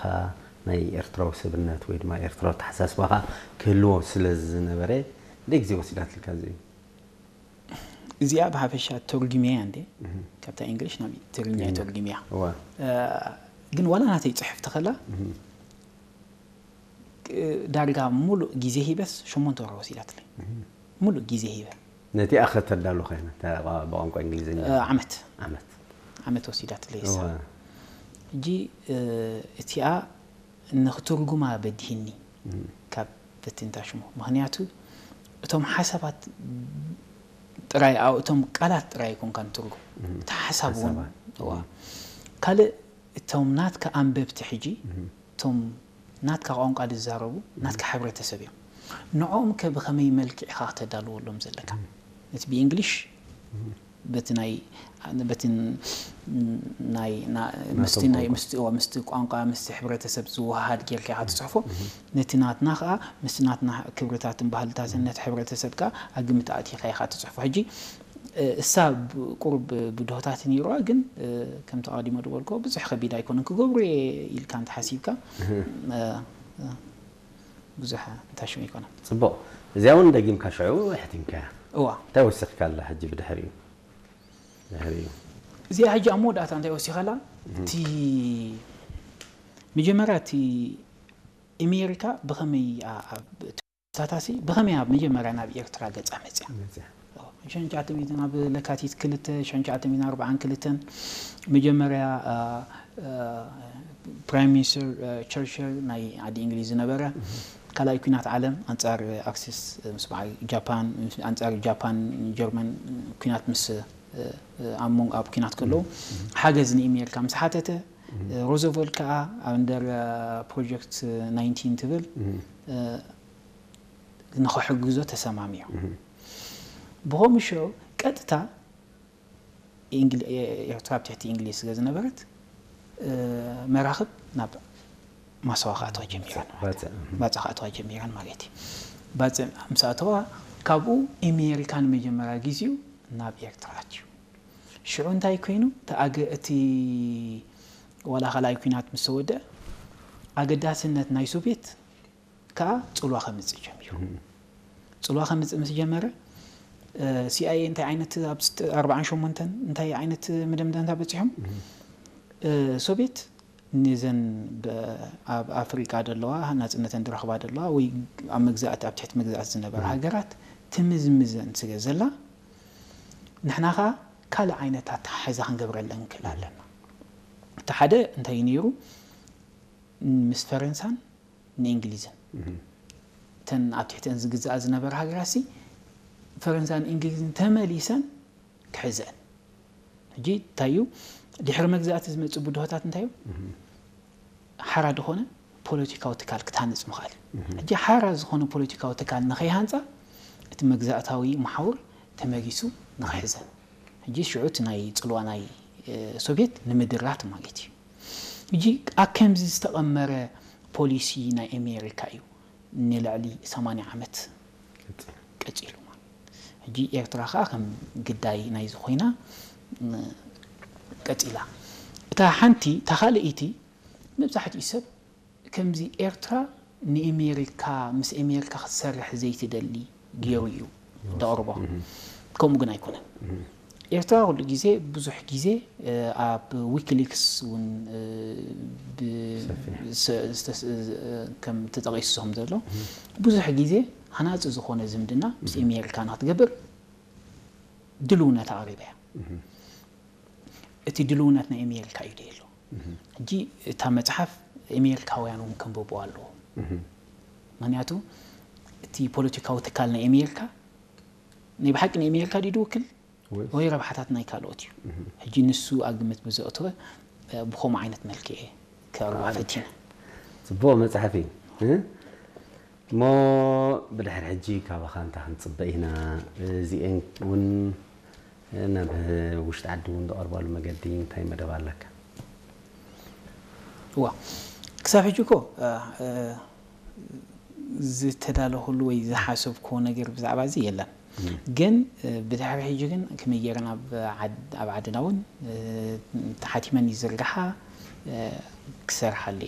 ካ ናይ ኤርትራዊ ሰብነት ወይ ድማ ኤርትራዊ ተሓሳስባኻ ክህልዎ ስለ ዝነበረ፣ ክንደይ ግዜ ወሲዳትልካ እዚኡ? እዚኣ ብሓፈሻ ተርጉምያ እንዴ፣ ካብታ እንግሊሽ ናብ ትግርኛ ተርጉምያ። ግን ዋላ ናተይ ጽሕፍቲ ከላ ዳርጋ ሙሉእ ግዜ ሂበስ ሸሞንተ ወርሒ ወሲዳትለይ። ሙሉእ ግዜ ሂበ። ነቲኣ ከተዳሉ ኮይና ብቋንቋ እንግሊዝኛ። ዓመት ዓመት ዓመት ወሲዳትለይ እሳ። ሕጂ እቲኣ ንክትርጉማ በዲህኒ ካብ በትንታ ሽሙ። ምክንያቱ እቶም ሓሳባት ጥራይ፣ እቶም ቃላት ጥራይ ኣይኮንካ ንትርጉም፣ እቲ ሓሳብ እውን። ካልእ እቶም ናትካ ኣንበብቲ ሕጂ፣ እቶም ናትካ ቋንቋ ዝዛረቡ ናትካ ሕብረተሰብ እዮም። ንዕኦም ከ ብኸመይ መልክዕ ኢኻ ክተዳልወሎም ዘለካ? ነቲ ብእንግሊሽ በቲ ናይ በቲ ናይ ምስቲ ናይ ምስቲ ቋንቋ ምስቲ ሕብረተሰብ ዝወሃሃድ ጌርካ ኢኻ ትፅሕፎ። ነቲ ናትና ከዓ ምስቲ ናትና ክብርታትን ባህልታትን ነቲ ሕብረተሰብ ከዓ ኣብ ግምት ኣእቲኻ ኢኻ ትፅሕፎ። ሕጂ እሳ ቁሩብ ብድሆታት ነይሩዋ፣ ግን ከምቲ ኣቐዲሞ ዝበልኮ ብዙሕ ከቢድ ኣይኮነን። ክገብሮ እየ ኢልካ እንተሓሲብካ ብዙሕ እንታሽም ኣይኮነን። ፅቡቕ። እዚኣ እውን ደጊምካ ሽዑ ኣሕቲምካያ። እዋ እንታይ ወሲኽካላ ሕጂ ብድሕሪኡ? ድሕሪኡ እዚኣ ሕጂ ኣብ መወዳእታ እንታይ ወሲኸላ? እቲ መጀመርያ እቲ ኣሜሪካ ብኸመይ ሳታሲ ብኸመይ ኣብ መጀመርያ ናብ ኤርትራ ገጻ መጽያ? ሸንቻተ ሚእትን ኣብ ለካቲት ክልተ ሸንቻተ ሚእትን ኣርባዓን ክልተን መጀመርያ ፕራይም ሚኒስተር ቸርችል ናይ ዓዲ እንግሊዝ ዝነበረ ካልኣይ ኩናት ዓለም ኣንጻር ኣክሲስ ምስ በዓል ጃፓን ኣንጻር ጃፓን ጀርመን ኩናት ምስ ኣብ መንጎ ኣብ ኩናት ከለዉ ሓገዝ ንኣሜሪካ ምስ ሓተተ ሮዘቨልት ከዓ ኣንደር ፕሮጀክት ናይንቲን ትብል ንክሕግዞ ተሰማሚዑ። ብኸምኡ ሸው ቀጥታ ኤርትራ ኣብ ትሕቲ እንግሊዝ ስለ ዝነበረት መራኽብ ናብ ማሰዋ ክኣትዋ ጀሚረን፣ ባጽዕ ክኣትዋ ጀሚረን ማለት እዩ። ባጽዕ ምስ ኣተዋ ካብኡ ኣሜሪካ ንመጀመርያ ግዜኡ ናብ ኤርትራ ኣትዩ። ሽዑ እንታይ ኮይኑ እቲ ዋላ ካልኣይ ኩናት ምስ ተወደአ ኣገዳስነት ናይ ሶቪየት ከዓ ፅልዋ ከምፅእ ጀሚሩ። ፅልዋ ከምፅእ ምስ ጀመረ ሲኣይኤ እንታይ ዓይነት ኣብ ኣርባዓን ሸሞንተን እንታይ ዓይነት መደምደምታ በፂሖም ሶቪየት ንዘን ኣብ ኣፍሪቃ ዘለዋ ናፅነተን ዝረኽባ ዘለዋ ወይ ኣብ መግዛእቲ ኣብ ትሕቲ መግዛእቲ ዝነበራ ሃገራት ትምዝምዘን ስለ ዘላ ንሕና ከዓ ካልእ ዓይነት ኣተሓሕዛ ክንገብረለን ንክእል ኣለና። እቲ ሓደ እንታይ ነይሩ ምስ ፈረንሳን ንእንግሊዝን እተን ኣብ ትሕተን ዝግዛኣ ዝነበራ ሃገራት ሲ ፈረንሳን እንግሊዝን ተመሊሰን ክሕዘን። ሕጂ እንታይ እዩ ድሕሪ መግዛእቲ ዝመፅእ ብድሆታት እንታይ እዩ ሓራ ዝኾነ ፖለቲካዊ ትካል ክትሃንፅ ምኽኣል እዩ። ሕጂ ሓራ ዝኾነ ፖለቲካዊ ትካል ንኸይሃንፃ እቲ መግዛእታዊ መሓውር ተመሊሱ ንኽሕዘን። ሕጂ ሽዑ እቲ ናይ ፅልዋ ናይ ሶቪየት ንምድራት ማለት እዩ። ሕጂ ኣብ ከምዚ ዝተቐመረ ፖሊሲ ናይ ኣሜሪካ እዩ ንልዕሊ ሰማንያ ዓመት ቀፂሉ ማለት። ሕጂ ኤርትራ ከዓ ከም ግዳይ ናይዚ ኮይና ቀፂላ። እታ ሓንቲ እታ ካልኣይቲ መብዛሕትኡ ሰብ ከምዚ ኤርትራ ንኤሜሪካ ምስ ኤሜሪካ ክትሰርሕ ዘይትደሊ ገይሩ እዩ ደቕርቦ። ከምኡ ግን ኣይኮነን። ኤርትራ ኩሉ ግዜ ብዙሕ ግዜ ኣብ ዊኪሊክስ እውን ከም ተጠቒሱ ከም ዘሎ ብዙሕ ግዜ ሃናፂ ዝኾነ ዝምድና ምስ ኤሜሪካ ንክትገብር ድልውነት ኣቕሪባ እያ። እቲ ድልውነት ናይ ኣሜሪካ እዩ ደሎ። ሕጂ እታ መፅሓፍ ኣሜሪካውያን እውን ከንብብዋ ኣለዎ። ምክንያቱ እቲ ፖለቲካዊ ትካል ናይ ኣሜሪካ ናይ ብሓቂ ናይ ኣሜሪካ ድዩ ዝውክል ወይ ረብሓታት ናይ ካልኦት እዩ? ሕጂ ንሱ ኣብ ግምት ብዘእተወ ብከምኡ ዓይነት መልክዕ ከቕርባ ፈቲነ። ፅቡቕ መፅሓፍ እዩ። እሞ ብድሕሪ ሕጂ ካባኻ እንታይ ክንፅበ ኢና? እዚኤን እውን ናብ ውሽጢ ዓዲ እውን ዝቐርባሉ መገዲ እንታይ መደብ ኣለካ? እዋ ክሳብ ሕጂ እኮ ዝተዳለኹሉ ወይ ዝሓሰብክዎ ነገር ብዛዕባ እዚ የለን። ግን ብድሕሪ ሕጂ ግን ከመይ ገይረ ናብ ዓድና እውን ተሓቲመን ይዝርግሓ ክሰርሓሉ